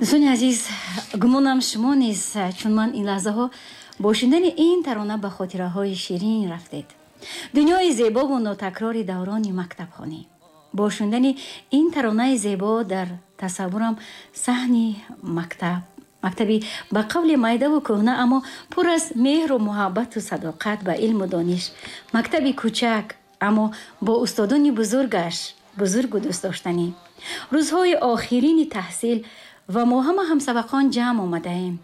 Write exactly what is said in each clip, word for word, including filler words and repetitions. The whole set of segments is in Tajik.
Дӯстони азиз, гумонам шумо низ чун ман ин лаҳзаҳо бо шунидани ин тарона ба хотираҳои ширин рафтед. Дунёи зебову нотакрори даврони мактабхонӣ. Бо шунидани ин таронаи зебо дар тасаввурам саҳни мактаб, мактаби ба қавли майдаву кӯҳна, аммо пур аз меҳру муҳаббату садоқат ба илму дониш, мактаби кӯчак, аммо бо устодони бузургаш, бузургу дӯстдоштанӣ. Рӯзҳои охирини таҳсил ва мо ҳама ҳамсабақон ҷамъ омадаем,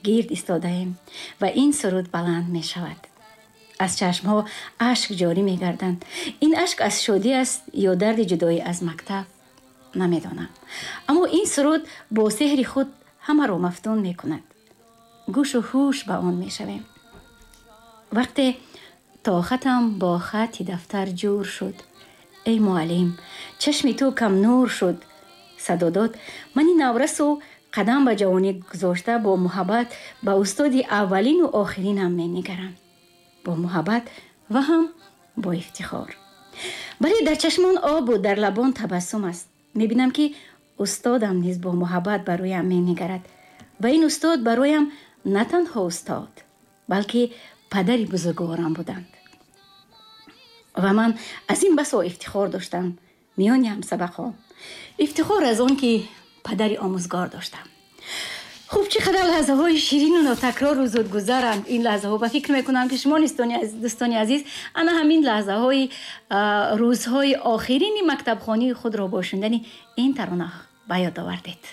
гирд истодаем ва ин суруд баланд мешавад. Аз чашмҳо ашк ҷорӣ мегарданд. Ин ашк аз шодӣ аст ё дарди ҷудоӣ аз мактаб, намедонам. Аммо ин суруд бо сеҳри худ ҳамаро мафтун мекунад. Гӯшу ҳуш ба он мешавем. Вақте то хатам бо хати дафтар ҷур шуд, эй муаллим, чашми ту камнур шуд, садо дод мани наврасу қадам ба ҷавонӣ гузошта бо муҳаббат ба устоди аввалину охиринам менигарам. Бо муҳаббат ва ҳам бо ифтихор. Бале, дар чашмон обу дар лабон табассум аст. Мебинам, ки устодам низ бо муҳаббат ба рӯям менигарад ва ин устод бароям на танҳо устод, балки падари бузургворам буданд. Ва ман аз ин басо ифтихор доштам миёни ҳамсабақон. Ифтихор аз он, ки падари омӯзгор доштам. Хуб, чӣ қадар лаҳзаҳои ширину нотакрору зудгузаранд ин лаҳзаҳо. Ба фикр мекунам, ки шумо дӯстони азиз ана ҳамин лаҳзаҳои рӯзҳои охирини мактабхонии худро бо шунидани ин тарона ба ёд овардед.